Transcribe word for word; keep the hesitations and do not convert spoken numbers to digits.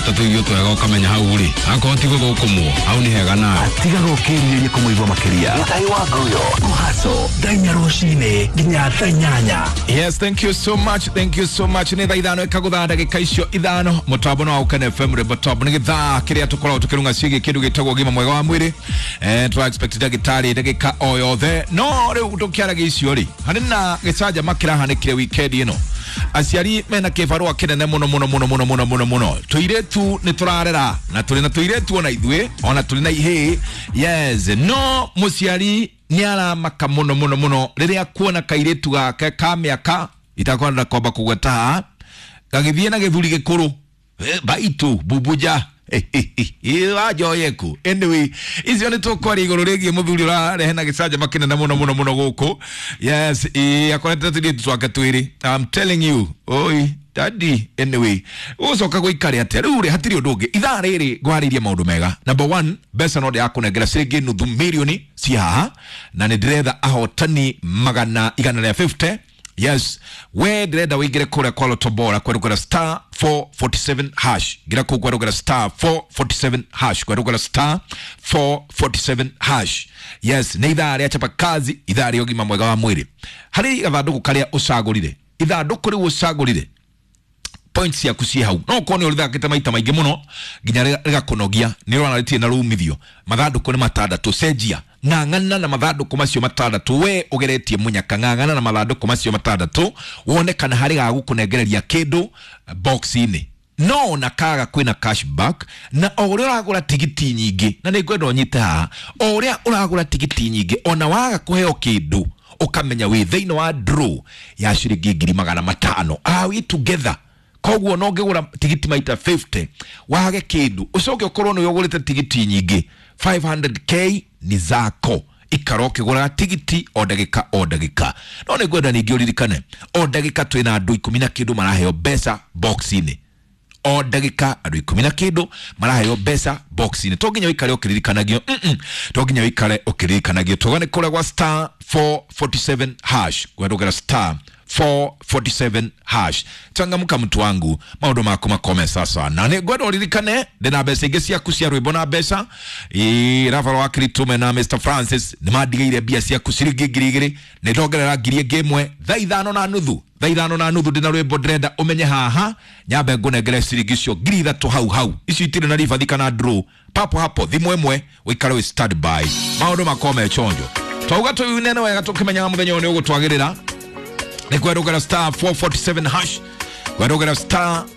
ta tũirio twega ũkamenya hau rĩ akorwo ti gũthũkũmwo hau nĩ hega nawe. Tigaga ũkĩrirĩria kũmũigua makĩria. Gĩtahi wa Nguyo kũhaco thaa inya rũcinĩ nginya thaa inyanya. Yes, thank you so much, thank you so much. Nĩ thaa ithano ikagũtha ndagĩka icio ithano. Mũtambo no Ũkene F M rwĩmbo top nĩ gĩthaa kĩrĩa tũkoragwo tũkĩrunga ciĩgiĩ kĩndũ gĩtagwo ũgima mwega wa mwĩrĩ. Eh, tũra expect ndagĩtarĩ ndagĩka o yothe, no rĩu tũkĩaragia icio rĩ, harĩ na gĩcanjama kĩrahanĩkire weekend ĩno. Aciari mena kĩbarũa kĩnene mũno mũno mũno mũno mũno mũno mũno. Tũirĩtu nĩ tũrarera na tũrĩ na tũirĩtu ona ithuĩ ona tũrĩ na ihĩĩ, yes, no mũciari nĩ aramaka mũno mũno mũno rĩrĩa kuona kairĩtu gake ka mĩaka itakwenda kwamba kũgweta haha gagĩthiĩ na gĩthuri gĩkũrũ. Eh, baitu bubuja wanjoyeku. Anyway, icio nĩ tũkwaria igũrũ rĩgiĩ mũthuri ũrarehe na gĩcanjama kĩnene mũno mũno mũno gũkũ. Yes, ĩ akorete tũirĩtu twake twĩrĩ. I'm telling you, oi daddy. Anyway, ũgũcoka gũikare atĩa rĩu rĩ? Hatirĩ ũndũ ũngĩ, ithaa rĩrĩ ngwarĩirie maũndũ mega. Number one, mbeca no ndĩrakũnengera ciringi nuthu mirioni ci haha na nĩ ndĩretha ahotani magana igana rĩa mĩrongo ĩtano. Yes, we ndĩrenda wĩingĩre kũrĩa kwa Lotto Bora kwerũkĩra star four forty-seven hash. Ngira kũu kwerũkĩra star four forty-seven hash, kwerũkĩra star four forty-seven hash. Yes, nĩ ithaa rĩa chapa kazi, ithaa rĩa ũgima mwega wa mwĩrĩ. Harĩ gathandũkũ karĩa ũcagũrire, ithandũkũ rĩu ũcagũrire, points ciaku ciĩ hau. No ũkorwo nĩ ũrĩthakĩte maita maingĩ mũno nginya rĩga- rĩgakũnogia, nĩ ũrona rĩtirĩ na rumithio. Mathandũkũ nĩ matandatũ, cenjia, ng'ang'ana na mathandũkũ macio matandatũ. We ũgeretie mũnyaka, ng'ang'ana na mathandũkũ macio matandatũ wone kana harĩ gagũkũnengereria kĩndũ box-inĩ. No ona kaga kwĩna cashback na o ũrĩa ũragũra tigiti nyingĩ, na nĩ ngwenda ũnyite haha, o ũrĩa ũragũra tigiti nyingĩ, ona waga kũheo kĩndũ, ũkamenya wĩ thĩinĩ wa draw ya ciringi ngiri magana matano. Are we together? Koguo no ngĩgũra tigiti maita mĩrongo ĩtano wage kĩndũ, ũcoke ũkorwo nĩ ũgũrĩte tigiti nyingĩ, magana matano k ni zako. Ikara ũkĩgũraga tigiti o ndagĩka o ndagĩka. No nĩ ngwenda ningĩ ũririkane o ndagĩka twĩna andũ ikũmi na kĩndũ maraheo mbeca box-inĩ. O ndagĩka andũ ikũmi na kĩndũ maraheo mbeca box-inĩ. To nginya ũikare ũkĩririkanagio, mm -mm. To nginya ũikare ũkĩririkanagio. Tũgane kũrĩa gwa star four forty-seven hash, kwendũgera star four forty-seven hash. Changamka mtu wangu, maũndũ maku makome sasa. Na nĩ ngwenda ũririkane ndĩna mbeca ingĩ ciaku cia rwĩmbo na mbeca. Ĩ Rafael wa Kiritume na Mister Francis nĩ mandigĩire mbia ciaku ciringi ngiri igĩrĩ, nĩ ndongerera ngiri ĩngĩ ĩmwe thaa ithano na nuthu. Thaa ithano na nuthu ndĩna rwĩmbo ndĩrenda ũmenye haha nyambe ngũnengere ciringi icio ngiri ithatũ hau hau. Icio itirĩ na ribathi kana draw, papo hapo, thimũ ĩmwe, ũikare wĩ standby, maũndũ makome chonjo. Twauga tũinene wega tũkĩmenyaga mũthenya ũyũ nĩ ũgũtwagĩrĩra. Nĩ kwerũgera star four forty-seven hash, kwerũgera star